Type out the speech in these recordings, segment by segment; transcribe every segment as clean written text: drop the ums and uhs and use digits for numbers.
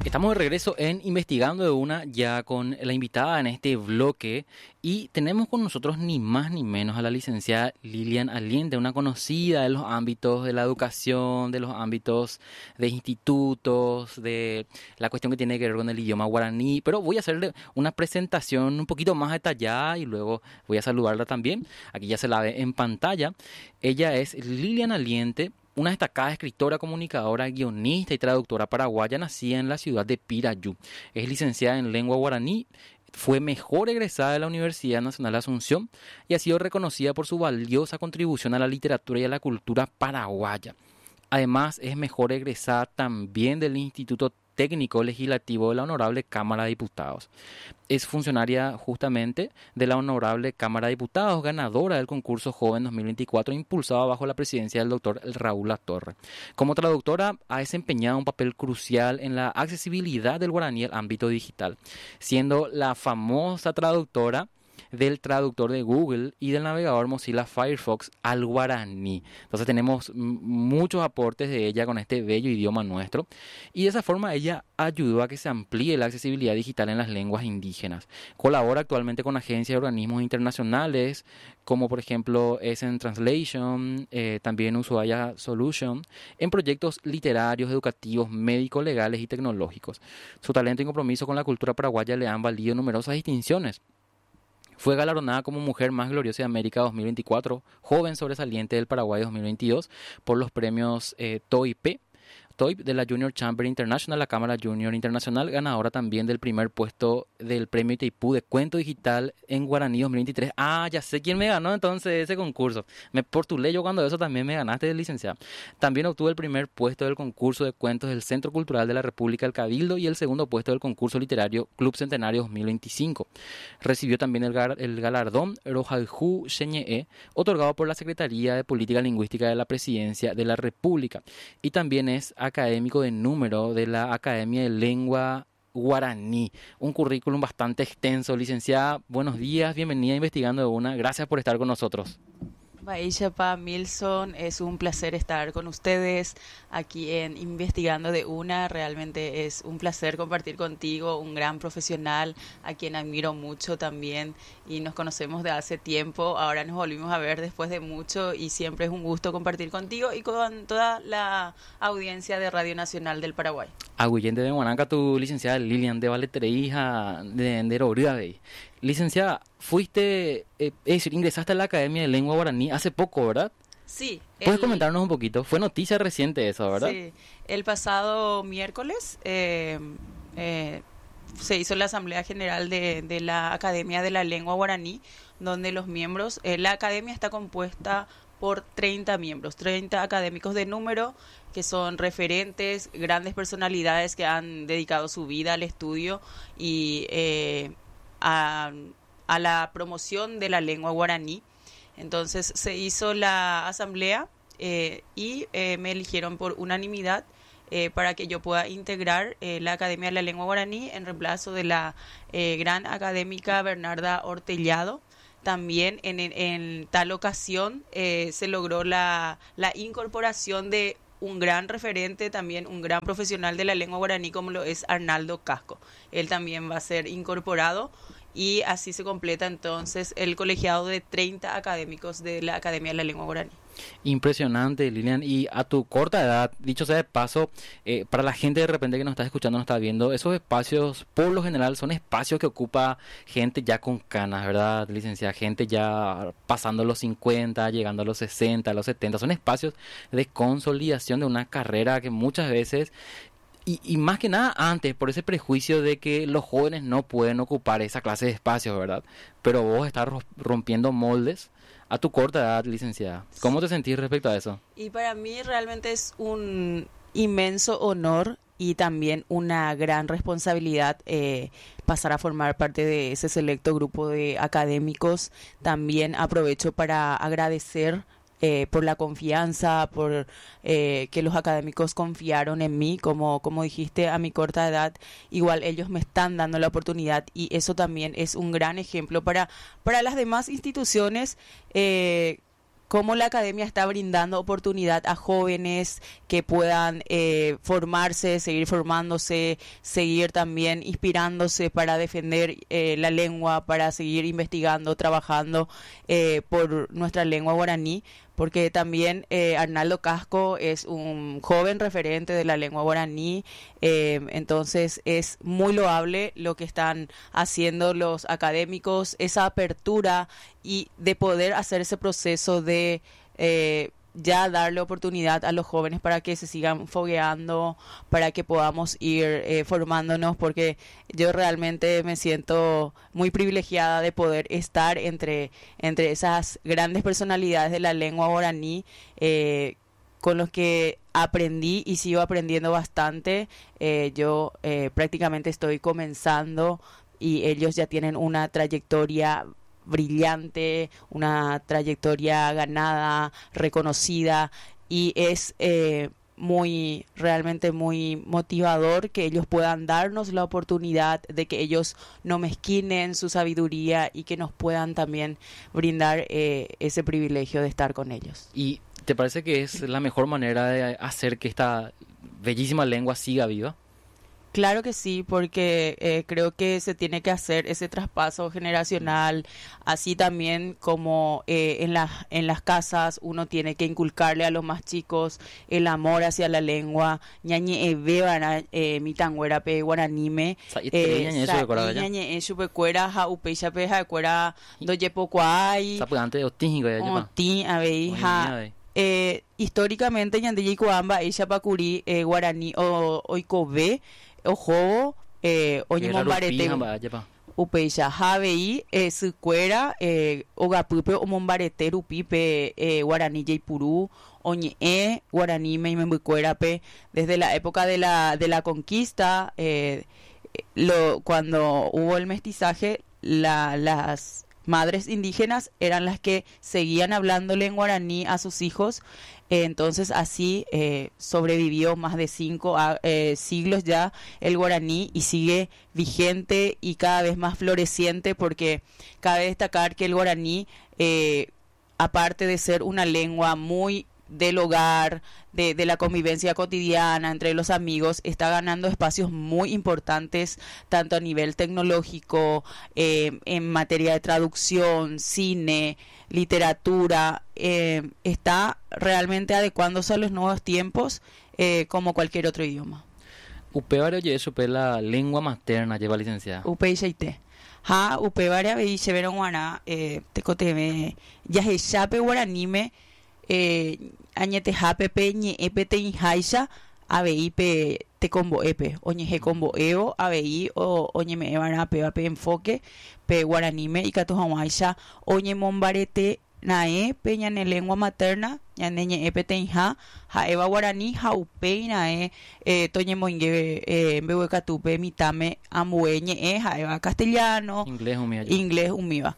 Estamos de regreso en Investigando de Una, ya con la invitada en este bloque y tenemos con nosotros ni más ni menos a la licenciada Lilian Aliente, una conocida de los ámbitos de la educación, de los ámbitos de institutos, de la cuestión que tiene que ver con el idioma guaraní, pero voy a hacerle una presentación un poquito más detallada y luego voy a saludarla también. Aquí ya se la ve en pantalla. Ella es Lilian Aliente, una destacada escritora, comunicadora, guionista y traductora paraguaya nacida en la ciudad de Pirayú. Es licenciada en lengua guaraní, fue mejor egresada de la Universidad Nacional de Asunción y ha sido reconocida por su valiosa contribución a la literatura y a la cultura paraguaya. Además, es mejor egresada también del Instituto Técnico Legislativo de la Honorable Cámara de Diputados. Es funcionaria justamente de la Honorable Cámara de Diputados, ganadora del concurso Joven 2024, impulsado bajo la presidencia del doctor Raúl Latorre. Como traductora, ha desempeñado un papel crucial en la accesibilidad del guaraní al ámbito digital, siendo la famosa traductora del traductor de Google y del navegador Mozilla Firefox al guaraní. Entonces tenemos muchos aportes de ella con este bello idioma nuestro y de esa forma ella ayudó a que se amplíe la accesibilidad digital en las lenguas indígenas. Colabora actualmente con agencias y organismos internacionales como por ejemplo Essen Translation, también Ushuaia Solution, en proyectos literarios, educativos, médicos, legales y tecnológicos. Su talento y compromiso con la cultura paraguaya le han valido numerosas distinciones. Fue galardonada como Mujer Más Gloriosa de América 2024, Joven Sobresaliente del Paraguay 2022 por los premios TOIP, TOIP de la Junior Chamber International, la Cámara Junior Internacional, ganadora también del primer puesto del premio Itaipú de Cuento Digital en Guaraní 2023. Ah, ya sé quién me ganó entonces ese concurso. Me postulé yo cuando eso también me ganaste, licenciada. También obtuvo el primer puesto del concurso de cuentos del Centro Cultural de la República del Cabildo y el segundo puesto del concurso literario Club Centenario 2025. Recibió también el galardón Rojaljú Xeñe'e, otorgado por la Secretaría de Política Lingüística de la Presidencia de la República. Y también es académico de número de la Academia de Lengua Guaraní. Un currículum bastante extenso. Licenciada, buenos días, bienvenida a Investigando de Una. Gracias por estar con nosotros. Mba'éichapa, Milson, es un placer estar con ustedes aquí en Investigando de Una. Realmente es un placer compartir contigo, un gran profesional a quien admiro mucho también y nos conocemos de hace tiempo. Ahora nos volvimos a ver después de mucho y siempre es un gusto compartir contigo y con toda la audiencia de Radio Nacional del Paraguay. Aguyje ndéve g̃uarã katu, licenciada Lilian, de valeterei ha de nderory. Licenciada, fuiste, es decir, ingresaste a la Academia de Lengua Guaraní hace poco, ¿verdad? Sí. ¿Puedes comentarnos un poquito? Fue noticia reciente eso, ¿verdad? Sí, el pasado miércoles se hizo la Asamblea General de la Academia de la Lengua Guaraní, donde los miembros, la academia está compuesta por 30 miembros, 30 académicos de número que son referentes, grandes personalidades que han dedicado su vida al estudio y a la promoción de la lengua guaraní. Entonces se hizo la asamblea y me eligieron por unanimidad para que yo pueda integrar la Academia de la Lengua Guaraní en reemplazo de la gran académica Bernarda Ortellado. También en tal ocasión se logró la incorporación de un gran referente, también un gran profesional de la lengua guaraní como lo es Arnaldo Casco. Él también va a ser incorporado y así se completa entonces el colegiado de 30 académicos de la Academia de la Lengua Guaraní. Impresionante, Lilian. Y a tu corta edad, dicho sea de paso, para la gente de repente que nos está escuchando, nos está viendo, esos espacios, por lo general, son espacios que ocupa gente ya con canas, ¿verdad, licenciada? Gente ya pasando los 50, llegando a los 60, a los 70. Son espacios de consolidación de una carrera que muchas veces... Y más que nada antes, por ese prejuicio de que los jóvenes no pueden ocupar esa clase de espacios, ¿verdad? Pero vos estás rompiendo moldes a tu corta edad, licenciada. ¿Cómo te sentís respecto a eso? Y para mí realmente es un inmenso honor y también una gran responsabilidad pasar a formar parte de ese selecto grupo de académicos. También aprovecho para agradecer por la confianza, por que los académicos confiaron en mí, como dijiste, a mi corta edad, igual ellos me están dando la oportunidad y eso también es un gran ejemplo para las demás instituciones. Cómo la academia está brindando oportunidad a jóvenes que puedan formarse, seguir formándose, seguir también inspirándose para defender la lengua, para seguir investigando, trabajando por nuestra lengua guaraní, porque también Arnaldo Casco es un joven referente de la lengua guaraní, entonces es muy loable lo que están haciendo los académicos, esa apertura y de poder hacer ese proceso de ya darle oportunidad a los jóvenes para que se sigan fogueando, para que podamos ir formándonos, porque yo realmente me siento muy privilegiada de poder estar entre esas grandes personalidades de la lengua guaraní, con los que aprendí y sigo aprendiendo bastante. Yo prácticamente estoy comenzando y ellos ya tienen una trayectoria brillante, una trayectoria ganada, reconocida, y es muy, realmente muy motivador que ellos puedan darnos la oportunidad de que ellos no mezquinen su sabiduría y que nos puedan también brindar ese privilegio de estar con ellos. ¿Y te parece que es la mejor manera de hacer que esta bellísima lengua siga viva? Claro que sí, porque creo que se tiene que hacer ese traspaso generacional, así también como en las casas uno tiene que inculcarle a los más chicos el amor hacia la lengua. Ñañe ebevara mitanguera pe guaranime, ñañe chupecuera ja upecha pe jacuera doyepokuai sapy'ante otĩ otĩ avei ja. Históricamente ñande jaikuaa mba'éichapa guaraní oikove oho oñemombarete upéicha ha avei sykuéra ogapýpe omombarete rupi pe guaraní jaipuru oñe'ẽ guaraníme imembykuérape desde la época de la conquista, cuando hubo el mestizaje, las madres indígenas eran las que seguían hablándole en guaraní a sus hijos. Entonces así sobrevivió más de 5 siglos ya el guaraní y sigue vigente y cada vez más floreciente, porque cabe destacar que el guaraní, aparte de ser una lengua muy del hogar, de la convivencia cotidiana entre los amigos, está ganando espacios muy importantes tanto a nivel tecnológico, en materia de traducción, cine, literatura, está realmente adecuándose a los nuevos tiempos, como cualquier otro idioma. Upévare oje'e chupe la lengua materna lleva licenciada. Upeichaite. Ha upévare avei chéverõ g̃uarã tekotevẽ jahechápe guaraníme añetehápe pe ñe'ẽ peteĩháicha avei pe tekombo'épe oñehekombo'évo avei oñeme'ẽva'erã péva pe enfoque pe guaraníme ikatu hag̃uáicha oñemombarete raẽ pe ñane lengua materna ñane ñe'ẽ peteĩha ha'éva guarani ha upéi raẽ toñemoinge mbeguekatúpe mitãme ambue ñe'ẽ ha'éva castellano, inglés umíva.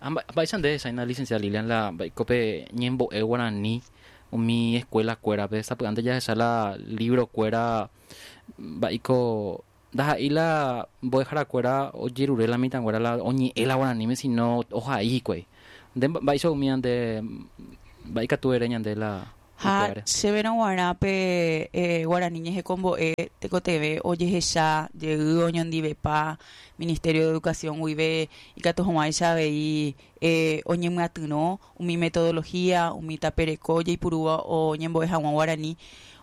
Mba'éicha nde hesãi licenciada Lilian la mba'éiko ñembo'e guarani umi escuela kuérape sapy'ánte jahecha la libro kuéra mba'éiko ndaha'éi la mbo'eharakuéra ojerure la mitãnguéra la oñe'ẽ la guaraníme sino ohai hikuái. Nde mba'éicha umi nde mba'éikatu ere ñande la Ha chéverõ g̃uarã pe guarani ñehekombo'e tekotevẽ ojehecha jey oñondivepa Ministerio de Educación guive ikatu hag̃uáicha avei oñemyatyrõ umi metodología, umi tapereko ojeipurúva oñembo'e hag̃ua guarani.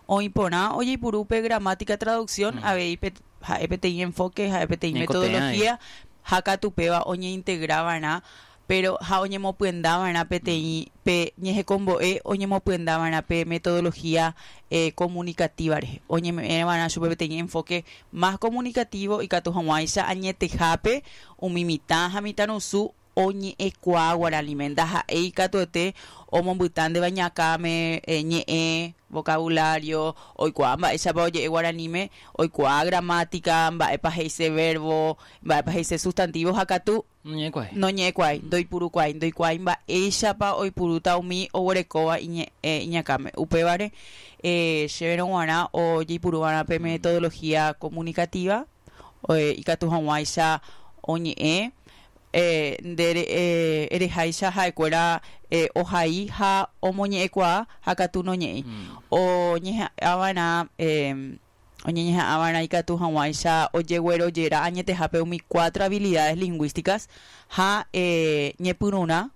Oĩ porã ojeipuru pe gramática traducción avei ha'e peteĩ enfoque, ha'e peteĩ metodología ha katu péva oñeintegrava'erã, pero ha oñemopyendava'erã peteĩ pe ñehekombo'e oñemopyendava'erã pe metodología comunicativa rehe. Oñeme'ẽva'erã chupe peteĩ enfoque más comunicativo ikatu hag̃uáicha añetehápe umi mitã ha mitãrusu oñe'ẽkuaa guaraníme. Ndaha'éi katuete omombytándeva ñakãme ñe'ẽ, vocabulario, oikuaa mba'éichapa oje'e guaraníme, oikuaa gramática, mba'épa he'ise verbo, mba'épa he'ise sustantivo ha katu noñe'ẽkuaái, ndoipurukuaái, ndoikuaái mba'éichapa oipurúta umi oguerekóva iñakãme. Upévare chéverõ g̃uarã ojeipuruva'erã pe metodología comunicativa ikatu hag̃uáicha oñe'ẽ. Nde ereháicha ha'ekuéra ohai ha omoñe'ẽkuaa ha katu noñe'ẽi. Oñeha'ãva'erã oñeñeha'ãva'erã ikatu hag̃uáicha ojeguerojera añetehápe umi cuatro habilidades lingũísticas ha ñepyrũrã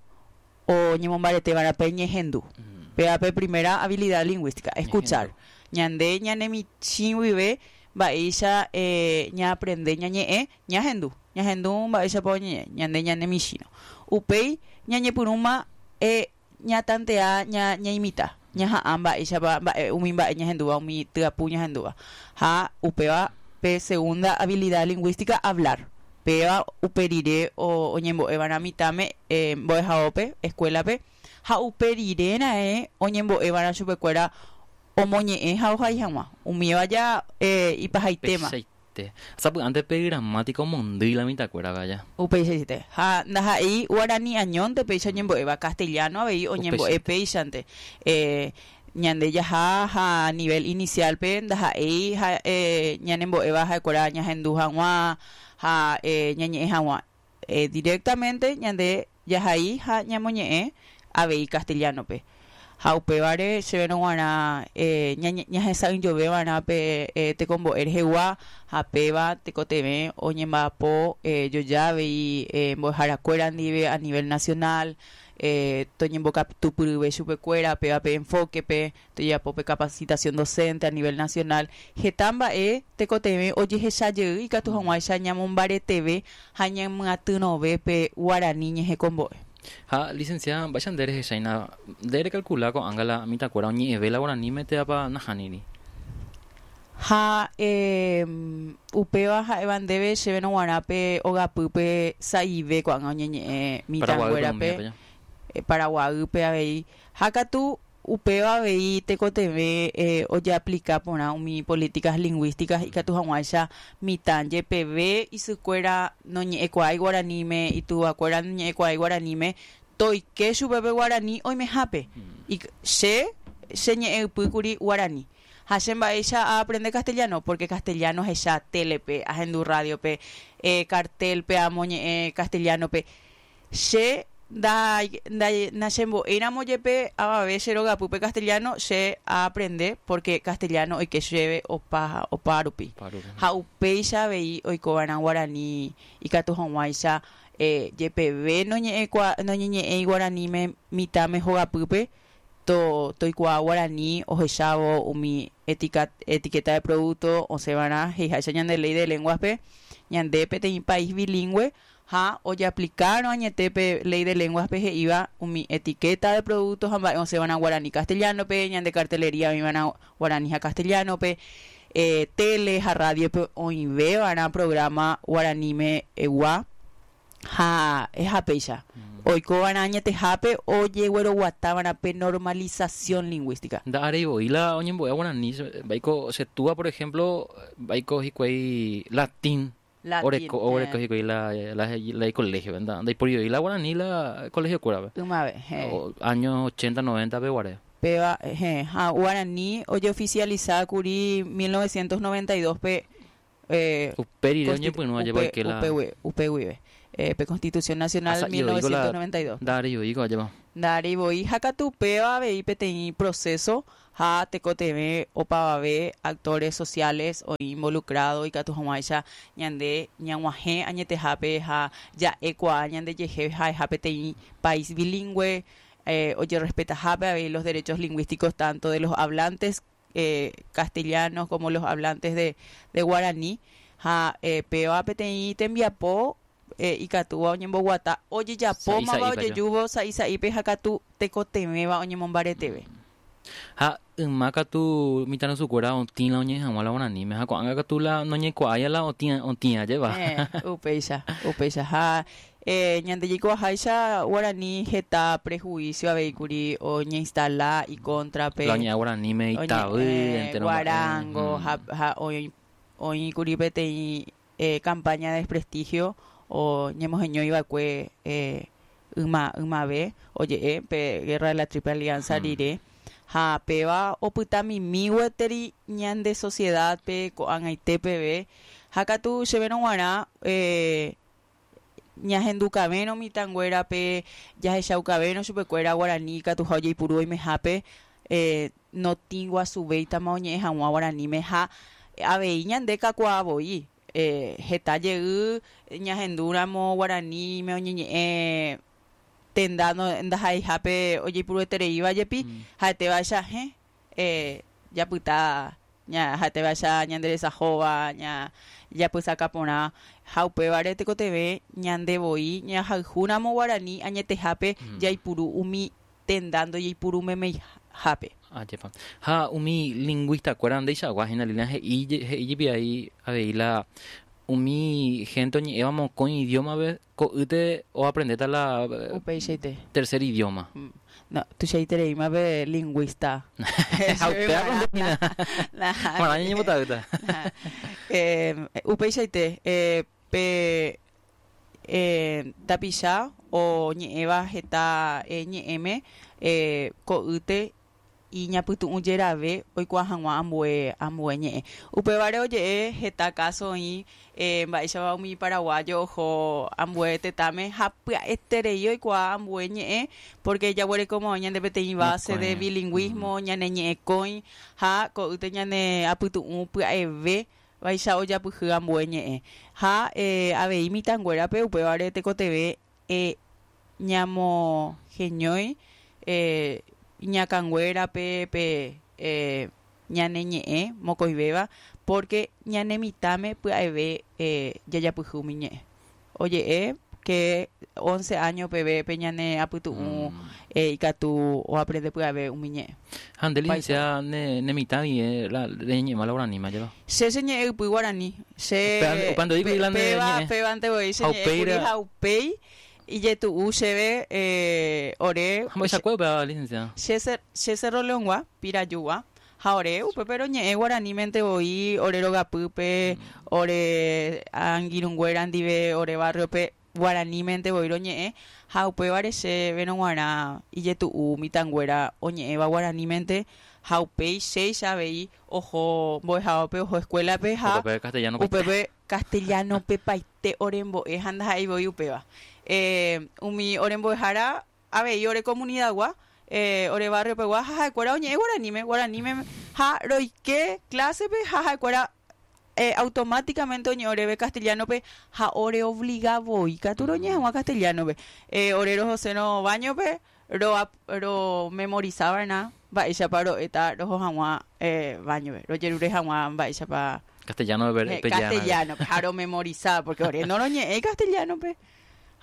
oñemombareteva'erã pe ñehendu. Péva pe primera habilidad lingũística, escuchar. Ñande ñanemichĩ guive mba'éicha ñaaprende ñañe'ẽ, ñahendu. Ñahendu mba'éichapa oñe'ẽ ñande ñane michĩrõ. Upéi ñañepyrũma ñatantea ñaimita, ñaha'ã mba'éichapa mba'e umi mba'e ñahendúva, umi tyapu ñahendúva. Ha upéva pe segunda habilidad lingũística, hablar. Péva upe rire oñembo'eva'erã mitãme mbo'ehaópe, escuela-pe, ha upe rire raẽ oñembo'eva'erã chupekuéra omoñe'ẽ ha ohai hag̃ua. Umíva ja ipahaitéma. Te. Sapy'ánte pe gramática omondýi la mitãkuérape aja. Upeichaite. Ha ndaha'éi guarani añónte péicha oñembo'éva, castellano avei oñembo'e péichante. Ñande jaha ha nivel inicial-pe ndaha'éi ha ñanembo'éva ha'ekuéra ñahendu hag̃ua ha ñañe'ẽ hag̃ua. Directamente ñande jahai ha ñamoñe'ẽ avei castellano-pe. Ha upévare chéverõ g̃uarã ñahesa'ỹijove va'erã pe tekombo'e rehegua ha péva tekotevẽ oñemba'apo joja avei mbo'eharakuéra ndive a nivel nacional, toñembokatupyryve chupekuéra péva pe enfoque-pe, Tojapo pe capacitación docente a nivel nacional heta mba'e tekotevẽ ojehecha jey ikatu hag̃uáicha ñamombareteve ha ñamyatyrõve pe guarani ñehekombo'e. Ha licenciada, mba'éicha nde rehecháina, nde recalcula ko'ág̃a la mitãkuéra oñe'ẽve la guaraníme térãpa nahániri? Ha upéva ha'éva ndéve chéverõ g̃uarã pe ogapýpe sa'ive ko'ág̃a oñeñe'ẽ mitãnguérape, Paraguaýpe avei. Ha katu Upéva avei tekotevẽ ojeaplika porã umi políticas lingũísticas ikatu hag̃uáicha mitã jepeve isykuéra noñe'ẽkuaái guaraníme, ituvakuéra noñe'ẽkuaái guaraníme, toike chupe pe guarani oimehápe. Che, che ñe'ẽ ypy kuri guarani. Ha che mba'éicha aaprende castellano? Porque castellano ahecha télepe, ahendu rádiope, cartel-pe amoñe'ẽ castellano-pe. Che nachembo'éiramo jepe avave che rogapýpe castellano, che aaprende pórke castellano oike chéve opa rupi. Ha upéicha avei oikova'erã guarani ikatu hag̃uáicha jepeve noñeñe'ẽi guaraníme mitãme hogapýpe, toikuaa guarani ohechávo umi etiqueta de producto osẽva'erã he'iháicha ñande ley de lenguas-pe, ñande peteĩ país bilingũe Ha ojeaplikárõ añete pe Ley de Lenguas-pe he'íva umi etiqueta de producto ha mba'e osẽva'erã guarani castellano-pe, ñande cartelería oĩva'erã guarani ha castellano-pe, tele ha radio-pe oĩveva'erã programa guaraníme egua ha ehapéicha. Oikova'erã añetehápe ojegueroguatava'erã pe normalización lingũística. Nda'aréi voi la oñembo'éva guarani, mba'éiko che túva por ejemplo, mba'éiko hikuái latín Latín, Oreko, oreko hikuái la, la, la icolegio-pe, nda, ndaiporioi la guarani la colegio-kuérape. Ymave, heẽ. O, año 80, 90-pe guare. Péva, heẽ, ha guarani ojeoficialisa kuri 1992-pe, Upe rire oñepyrũ ajépa oike la. Upe, upe guive. Pe Constitución Nacional 1992. Nda'aréi voi ko ajépa. Nda'aréi voi, ha katu upéva avei peteĩ proceso Ha tekotevẽ opavave actores sociales oĩ involucrado ikatu hag̃uáicha ñande ñag̃uahẽ añetehápe ha ja'ekuaa ñandejehe ha'eha peteĩ país bilingũe ojerrespetahápe avei los derechos lingũísticos tanto de los hablantes castellanos como los hablantes de guaraní ha péva peteĩ tembiapo ikatúva oñemboguata ojejapómava ojejúvo sa'i sa'ípe ha katu tekotevẽva oñemombareteve. Ha yma katu mitãrusukuéra otĩ la oñe'ẽ hag̃ua la guaraníme ha ko'ág̃a katu la noñekuaáia la otĩ otĩ ajépa. Upéicha, upéicha. Ha ñande jaikuaaháicha guarani heta prejuicio avei kuri oñeinstala ikóntrape. La oñe'ẽ guaraníme itavy, entero mba'e. Guarango ha oĩ kuri peteĩ campaña de desprestigio oñemoheñói va'ekue yma ymave oje'e pe Guerra de la Triple Alianza rire ha péva opyta mimi gueteri ñande sociedad-pe ko'ag̃aite peve ha katu chéverõ g̃uarã. Ñahendukavérõ mitãnguérape, jahechaukavérõ chupekuéra guarani ikatuha ojeipuru oimehápe, notĩ guasuvéitama oñe'ẽ hag̃ua guaraníme ha avei ñande kakuaa voi. Heta jey ñahendúramo guaraníme oñeñe'ẽ tenda ndaha'eihápe ojeipuruetereíva jepi, ha'etévaicha hẽ japyta ha'etévaicha ñande resahóva, japysaka porã ha upévare tekotevẽ ñande voi ñahayhúramo guarani añetehápe jaipuru umi tenda ndojeipurumemeihápe. Ajépa. Ha umi lingũista-kuéra ndeichagua hína Lilian he'i he'i jepi ai avei la umi hénte oñe'ẽva mokõi idioma-pe ko'ýte oaprendéta la Upeichaite. tercer idioma. No, tuichaitereíma pe lingũista. Ha upéva ko nde hína. Marã ñañembotavýta. Upeichaite, pe tapicha oñe'ẽva heta ñe'ẽme ko'ýte iñapytu'ũ jerave oikuaa hag̃ua ambue ambue ñe'ẽ. Upévare oje'e heta káso oĩ mba'éichapa umi paraguayo oho ambue tetãme ha pya'eterei oikuaa ambue ñe'ẽ pórke jaguerekóma oĩ ñande peteĩ base de bilingũismo ñane ñe'ẽkõi ha ko'ýte ñane apytu'ũ pya'eve Vaicha ojapyhy ambue ñe'ẽ. Ha avei mitãnguérape upévare tekotevẽ ñamoheñói iñakãnguérape pe ñane ñe'ẽ mokõivéva, pórke ñane mitãme pya'eve jajapyhy umi ñe'ẽ. Oje'e ke once áño peve pe ñane apytu'ũ ikatu oaprende pya'eve umi ñe'ẽ. Ha nde licenciada ne ne mitã guive la reñeñe'ẽma la guaraníma jeva? Che cheñe'ẽ ypy guarani. Che Upéva upéva ndoíkuri la ne péva ñe'ẽ. pévante voi che Ha ñe'ẽ upéi kuri ra ha upéi ijetu'u chéve ore Ha mba'eichakue upéva licenciada? che che Cerro León-gua, Pirajúgua, Ha ore upépe roñe'ẽ guaranímente voi ore rogapýpe, ore angirũnguéra ndive, ore barrio-pe guaranímente voi roñe'ẽ, ha upévare chéverõ g̃uarã ijetu'u mitãnguéra oñe'ẽva guaranímente, ha upéi chéicha avei oho mbo'ehaópe, oho escuela-pe ha Upépe castellano-pe. upépe castellano-pe paite orembo'e ha ndaha'éi voi upéva. Umi orembo'ehára Avei ore komunidagua, ore barrio-pegua ha ha'ekuéra oñe'ẽ guaraníme, guaraníme ha roike klásepe ha ha'ekuéra automáticamente oñe'ẽ oréve castellano-pe ha oreobliga voi katu roñe'ẽ hag̃ua castellano-pe. Ore rohosérõ baño-pe romemorisa va'erã mba'éichapa ro'éta roho hag̃ua baño-pe, rojerure hag̃ua mba'éichapa Castellano-pe castellano-pe ha romemorisa porque ore noroñe'ẽi castellano-pe.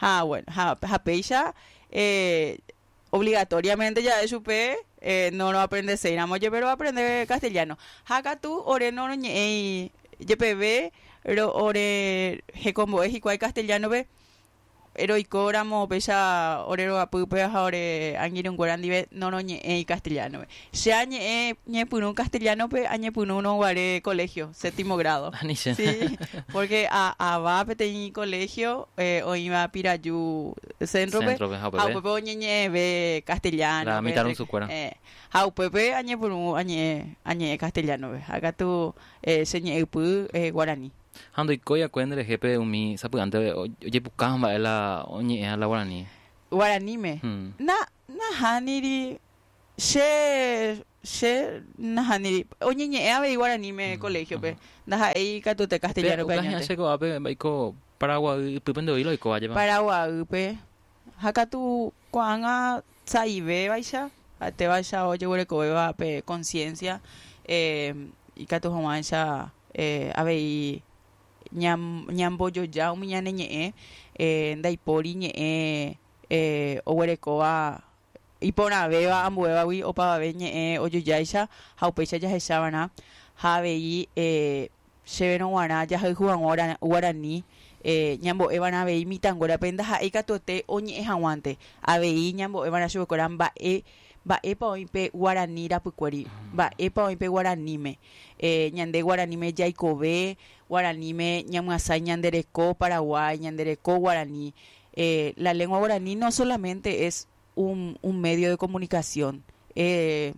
Ha bueno, ha, ha péicha eh, obligatoriamente ja'e chupe eh, no roaprendeséiramo jepe roaprende castellano. Ha katu ore noroñe'ẽi jepeve ro, ore hekombo'e hikuái castellano-pe roikóramo péicha ore rogapýpe ha ore angirũnguéra ndive noroñe'ẽi castellano-pe. Che añe'ẽ ñepyrũ castellano-pe añepyrũrõ guare colegio, séptimo grado. Ani che. Sí, porque a, ava peteĩ colegio eh, oĩva Piraju centro-pe, Centro-pe, ha ha upépe. upépe oñeñe'ẽve castellano-pe. La mitãrusukuéra. Eh, ha upépe añepyrũ añe'ẽ, añe'ẽ castellano-pe. Ha katu eh, che ñe'ẽypy eh, guarani. Ha ndoikói akue nderehe pe umi sapy'ánte ojepuka mba'e la oñe'ẽha la guarani. Guaraníme. Hmm. Na, nahániri. Che, che nahániri. Oñeñe'ẽ avei guaraníme colegio-pe. Ndaha'éi katuete castellano-pe Upéva añónte. che ko'ápe mba'éiko Paraguay ypýpe nde voi la oikóva jepa. Paraguaýpe. Ha katu ko'ág̃a sa'ivévaicha, ha'etévaicha ojeguerekovéva pe conciencia ikatu hag̃uáicha avei ñambojoja umi ñane ñe'ẽ ndaipóri ñe'ẽ oguerekóva Iporãvéva ambuévagui opavave ñe'ẽ ojojáicha ha upéicha jahechava'erã ha avei chéverõ g̃uarã jahayhu hag̃ua guarani ñambo'eva'erã avei mitãnguérape ndaha'éi katuete oñe'ẽ hag̃uánte, avei ñambo'eva'erã chupekuéra mba'e mba'épa oĩ pe guarani rapykuéri, mba'épa oĩ pe guaraníme. Ñande guaraníme jaikove, guaraníme ñamyasãi ñande reko Paraguái, ñande reko guarani. La lengua guaraní no solamente es un, un medio de comunicación. Eh,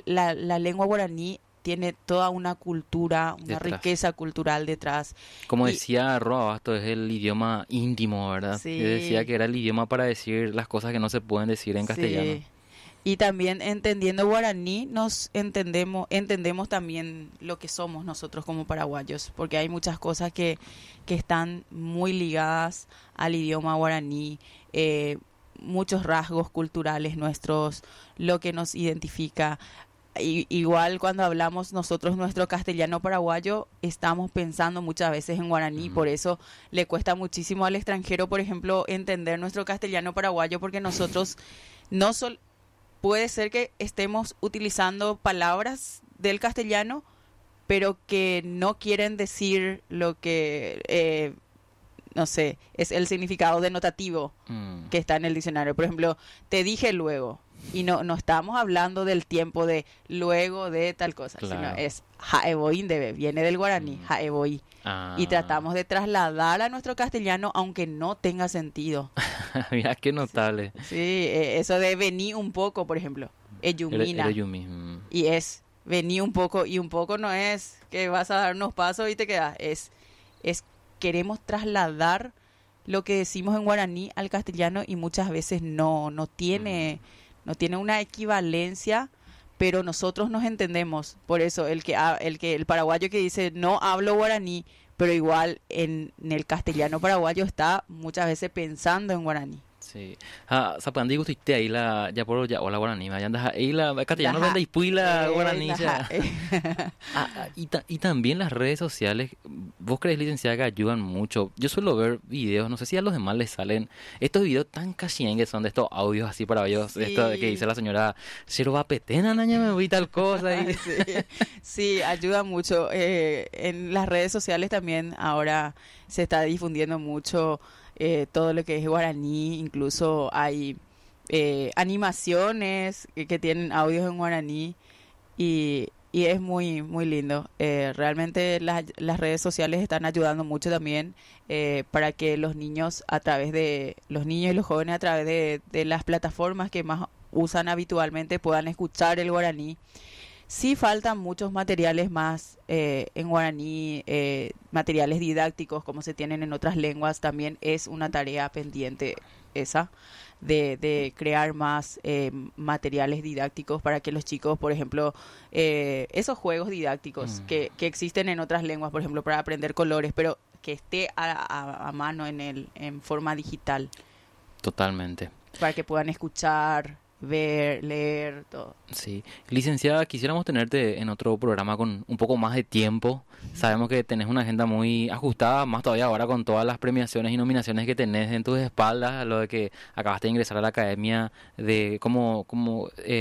la, la lengua guaraní tiene toda una cultura, una Detrás. riqueza cultural detrás. Como Y decía Roa Abasto, es el idioma íntimo, ¿verdad? Sí. Él decía que era el idioma para decir las cosas que no se pueden decir en castellano. Sí. Y también entendiendo guaraní, nos entendemos también lo que somos nosotros como paraguayos, porque hay muchas cosas que están muy ligadas al idioma guaraní, muchos rasgos culturales nuestros, lo que nos identifica. Igual cuando hablamos nosotros nuestro castellano paraguayo, estamos pensando muchas veces en guaraní, por eso le cuesta muchísimo al extranjero, por ejemplo, entender nuestro castellano paraguayo, porque nosotros no puede ser que estemos utilizando palabras del castellano, pero que no quieren decir lo que, no sé, es el significado denotativo que está en el diccionario. Por ejemplo, te dije luego, y no estamos hablando del tiempo de luego de tal cosa, sino es ha'evoi ndéve, viene del guaraní, ha'evoi. Y tratamos de trasladar a nuestro castellano aunque no tenga sentido. Mira, qué notable. Sí, eso de vení un poco, por ejemplo, ejumína. Era yumi. Y es vení un poco, y un poco no es que vas a dar unos pasos y te quedas, es queremos trasladar lo que decimos en guaraní al castellano y muchas veces no tiene una equivalencia, pero nosotros nos entendemos. Por eso el paraguayo que dice no hablo guaraní, pero igual en el castellano paraguayo está muchas veces pensando en guaraní. Sí. Ah, sapandi gusto ahí la ya por ya hola guaraní, ya andas ahí la castellano Ajá. vende y pui la guaraní, Ajá. ya. Ah, y también las redes sociales, vos crees, licenciada, que ayudan mucho. Yo suelo ver videos, no sé si a los demás les salen estos videos tan que son de estos audios así para ellos, esto de que dice la señora, cero va petena, naña, me voy tal cosa. Y... Sí, sí, ayuda mucho. En las redes sociales también ahora se está difundiendo mucho todo lo que es guaraní, incluso hay animaciones que tienen audios en guaraní y es muy, muy lindo. Realmente las redes sociales están ayudando mucho también para que los niños a través de, los niños y los jóvenes a través de las plataformas que más usan habitualmente puedan escuchar el guaraní. Sí faltan muchos materiales más en guaraní, materiales didácticos como se tienen en otras lenguas. También es una tarea pendiente esa, de crear más materiales didácticos para que los chicos, por ejemplo, esos juegos didácticos que existen en otras lenguas, por ejemplo, para aprender colores, pero que esté a mano en forma digital. Totalmente. Para que puedan escuchar, ver, leer, todo. Sí. Licenciada, quisiéramos tenerte en otro programa con un poco más de tiempo. Sabemos que tenés una agenda muy ajustada, más todavía ahora con todas las premiaciones y nominaciones que tenés en tus espaldas, lo de que acabaste de ingresar a la academia de, como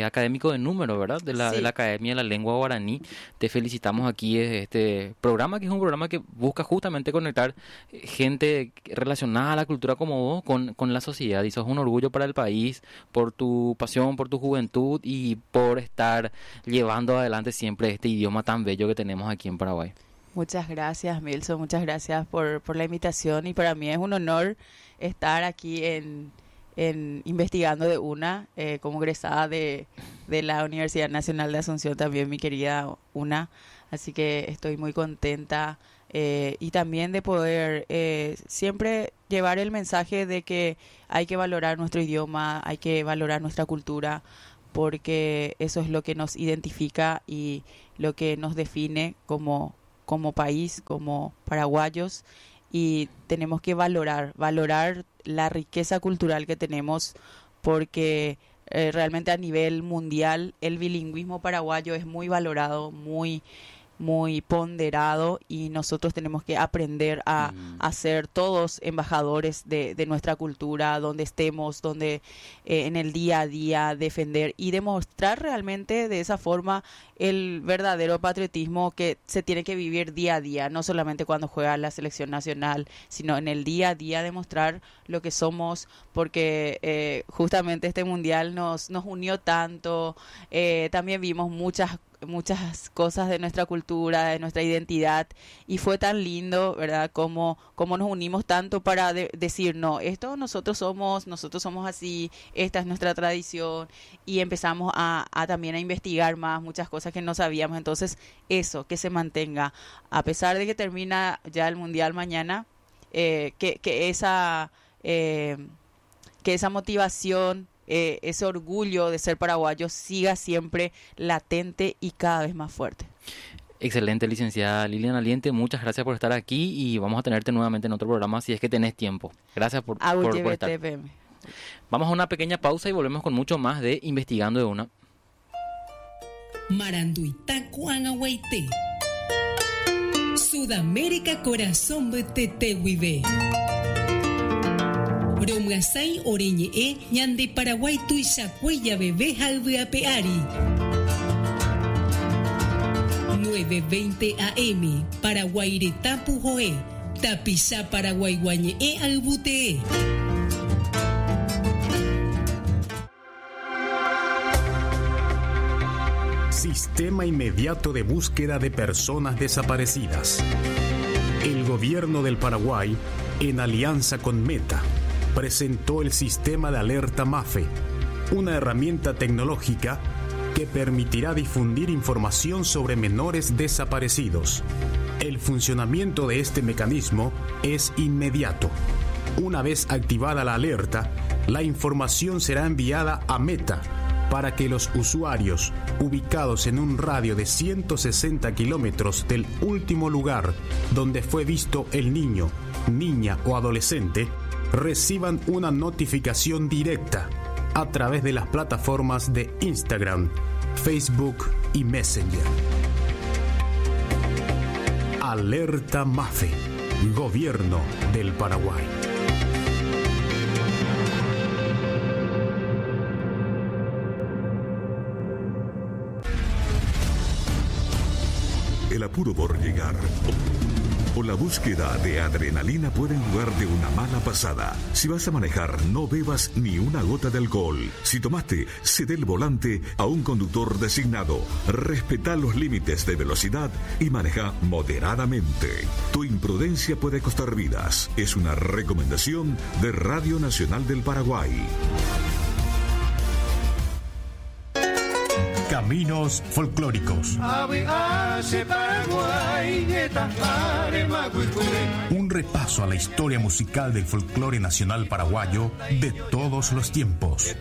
académico de número, ¿verdad? De la Academia de la Lengua Guaraní. Te felicitamos aquí desde este programa, que es un programa que busca justamente conectar gente relacionada a la cultura como vos con la sociedad. Y sos un orgullo para el país por tu pasión, por tu juventud y por estar llevando adelante siempre este idioma tan bello que tenemos aquí en Paraguay. Muchas gracias, Milson, muchas gracias por la invitación, y para mí es un honor estar aquí en Investigando de Una, como egresada de la Universidad Nacional de Asunción también, mi querida UNA, así que estoy muy contenta y también de poder siempre llevar el mensaje de que hay que valorar nuestro idioma, hay que valorar nuestra cultura, porque eso es lo que nos identifica y lo que nos define como país, como paraguayos, y tenemos que valorar la riqueza cultural que tenemos, porque realmente a nivel mundial el bilingüismo paraguayo es muy valorado, muy, muy ponderado, y nosotros tenemos que aprender a ser todos embajadores de nuestra cultura, donde estemos, donde en el día a día defender y demostrar realmente de esa forma el verdadero patriotismo que se tiene que vivir día a día, no solamente cuando juega la selección nacional, sino en el día a día demostrar lo que somos, porque justamente este mundial nos unió tanto, también vimos muchas muchas cosas de nuestra cultura, de nuestra identidad, y fue tan lindo, ¿verdad? Como, como nos unimos tanto para decir, no, esto nosotros somos así, esta es nuestra tradición, y empezamos a, a también a investigar más muchas cosas que no sabíamos. Entonces, eso, que se mantenga, a pesar de que termina ya el Mundial mañana, que esa... que esa motivación, ese orgullo de ser paraguayo siga siempre latente y cada vez más fuerte. Excelente, licenciada Lilian Aliente, muchas gracias por estar aquí y vamos a tenerte nuevamente en otro programa si es que tenés tiempo. Gracias por estar. Vamos a una pequeña pausa y volvemos con mucho más de Investigando de Una. Maranduita Guaite. Sudamérica corazón mbytete guive. Romyasãi ore ñe'ẽ ñande Paraguái tuichakue javeve ha yvy ape ári. 9:20 AM Paraguái retã puhoe tapicha paraguaigua ñe'ẽ ayvu tee. Sistema Inmediato de Búsqueda de Personas Desaparecidas. El gobierno del Paraguay, en alianza con Meta, presentó el sistema de alerta MAFE, una herramienta tecnológica que permitirá difundir información sobre menores desaparecidos. El funcionamiento de este mecanismo es inmediato. Una vez activada la alerta, la información será enviada a Meta para que los usuarios ubicados en un radio de 160 kilómetros del último lugar donde fue visto el niño, niña o adolescente reciban una notificación directa a través de las plataformas de Instagram, Facebook y Messenger. Alerta MAFE, Gobierno del Paraguay. El apuro por llegar o la búsqueda de adrenalina pueden jugarte una mala pasada. Si vas a manejar, no bebas ni una gota de alcohol. Si tomaste, cede el volante a un conductor designado. Respeta los límites de velocidad y maneja moderadamente. Tu imprudencia puede costar vidas. Es una recomendación de Radio Nacional del Paraguay. Caminos folclóricos. Un repaso a la historia musical del folclore nacional paraguayo de todos los tiempos.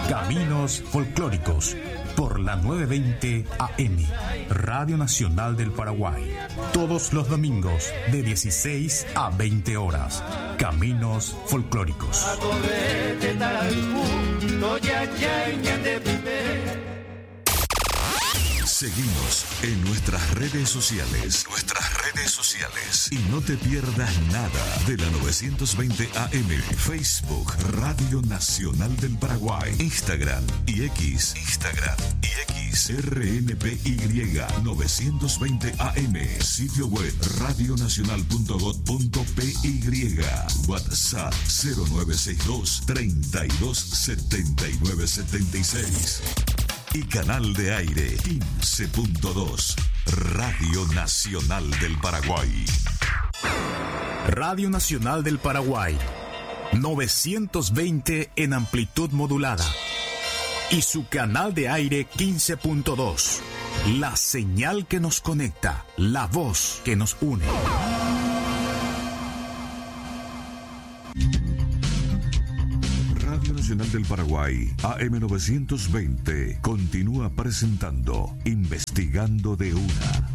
Caminos folclóricos por la 920 AM, Radio Nacional del Paraguay. Todos los domingos de 16 a 20 horas. Caminos folclóricos. Seguinos en nuestras redes sociales. Nuestras redes sociales. Y no te pierdas nada de la 920 AM. Facebook, Radio Nacional del Paraguay. Instagram y X. Instagram y X. RNPY 920 AM. Sitio web radionacional punto gob punto PY. WhatsApp 0962 32 79 76. Y canal de aire 15.2, Radio Nacional del Paraguay. Radio Nacional del Paraguay, 920 en amplitud modulada. Y su canal de aire 15.2. La señal que nos conecta, la voz que nos une. Radio Nacional del Paraguay, AM 920, continúa presentando Investigando de Una.